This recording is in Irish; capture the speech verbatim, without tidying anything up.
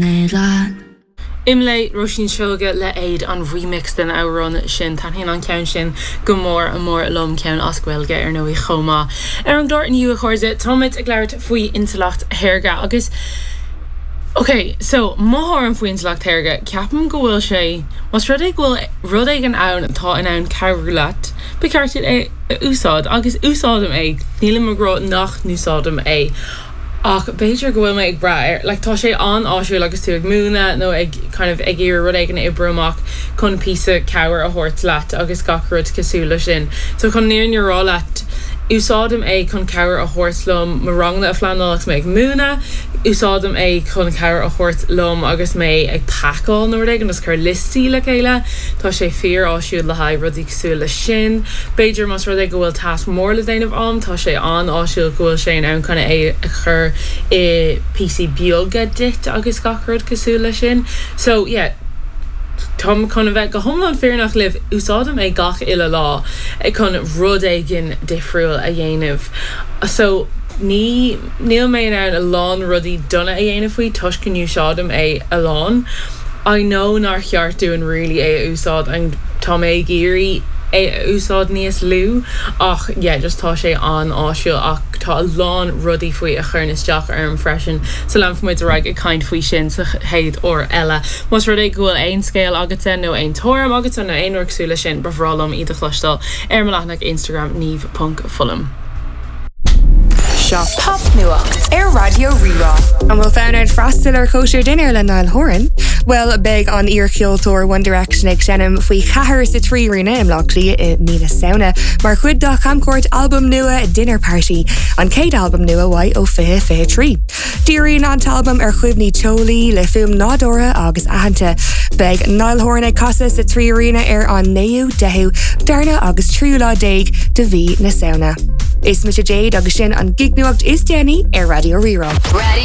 Leat. Imlé Róisín Seoige le Éad an remix den amhrán sin taitníonn an ceann sin go mór a mór liom ceann as Gaeilge ar ndóigh chomh maith. Ar an gclár inniu a chairde táimid ag labhairt faoi intleacht shaorga agus Ok, so mo thuairim faoi intleacht shaorga ceapaim go bhfuil sé Más rud é go bhfuil rud éigin ann atá in ann cabhrú leat, ba cheart é a úsáid agus úsáidim é nílim ag rá nach n-úsáidim é. ach b'fhéidir go bhfuil mé ag brath air like tá sé an-áisiúil agus tú ag múineadh nó ag kind of ag iarraidh rud éigin a oibriú amach chun píosa cabhair a thabhairt leat agus gach rud cosúil le sin. So chun an fhírinne a rá leat úsáidim é chun cabhair a thabhairt liom mo ranganna a phleanáil agus mé ag múineadh, úsáidim é chun cabhair a thabhairt liom agus mé ag pacáil nó rud éigin agus cur liostaí le chéile, Tá sé fíor-áisiúil le haghaidh rudaí cosúil le sin. B'fhéidir más rud é go bhfuil tasc mór le déanamh agam, tá sé an-áisiúil go bhfuil sé in ann chun é a chur i píosaí beaga duit agus gach rud cosúil le sin. So yeah, Táim chun a bheith go hiomlán fírinneach libh úsáidim é gach uile lá chun rud éigin difriúil a dhéanamh. So ní níl mé in ann a lán rudaí dona a dhéanamh faoi toisc go n-úsáidim é a lán. I know nár cheart dúinn really é a úsáid an tá mé ag iarraidh é a úsáid níos lú ach yeah, just tá sé an-áisiúil ach tá a lán rudaí faoi a chuireann isteach orm freisin so leanfaimid ar aghaidh ag caint faoi sin sa chéad uair eile. Más rud é go bhfuil aon scéal agatsa nó aon tuairim agatsa nó aon rud cosúil le sin ba bhreá liom iad a chloisteáil ar mo leathanach Instagram niamh.fullam. Seo Popnuacht ar Raidió Rí-Rá. An bhfuil fonn ort freastal ar chóisir dinnéir le Niall Horan? Well beidh an iarcheoltóir One Direction ag seinm faoi cheathair sa Trí Aíonna i mBleá Cliath i mí na Samhna, mar chuid dá chamchuairt albam nua Dinner Party, an chéad albam nua uaidh ó fiche fiche trí. Díríonn an t-albam ar chuimhní teolaí le fuaim nádúrtha agus aitheanta. Beidh Niall Horan ag casadh sa Trí Aíonna ar an naoú deichiú darna agus tríú lá déag de mhí na Samhna. Is mise Jade agus sin an gignuacht is déanaí ar Raidió Rí-Rá. Radio